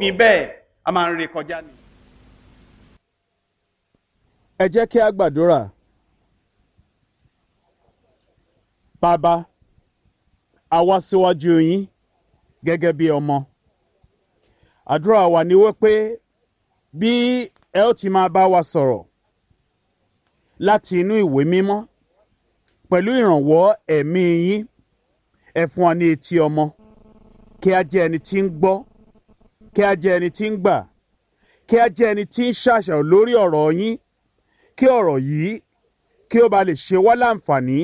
Fi bẹ́ẹ̀ a máa ń re kọjá ni. Ẹ jẹ́ kí a gbàdúrà. Bàbá, a wá síwájú yín gẹ́gẹ́ bí ọmọ. Àdúrà wa ni wípé bí ẹ ó ti máa bá wa sọ̀rọ̀ láti inú ìwé mímọ́ pẹ̀lú ìrànwọ́ ẹ̀mí yín, ẹ fún wa ní etí ọmọ, kí a jẹ́ ẹni tí ń gbọ́, kí a jẹ́ ẹni tí ń gbà, kí a jẹ́ ẹni tí ń ṣàṣàrò lórí ọ̀rọ̀ yín, kí ọ̀rọ̀ yìí kí ó ba lè ṣe wá láǹfààní.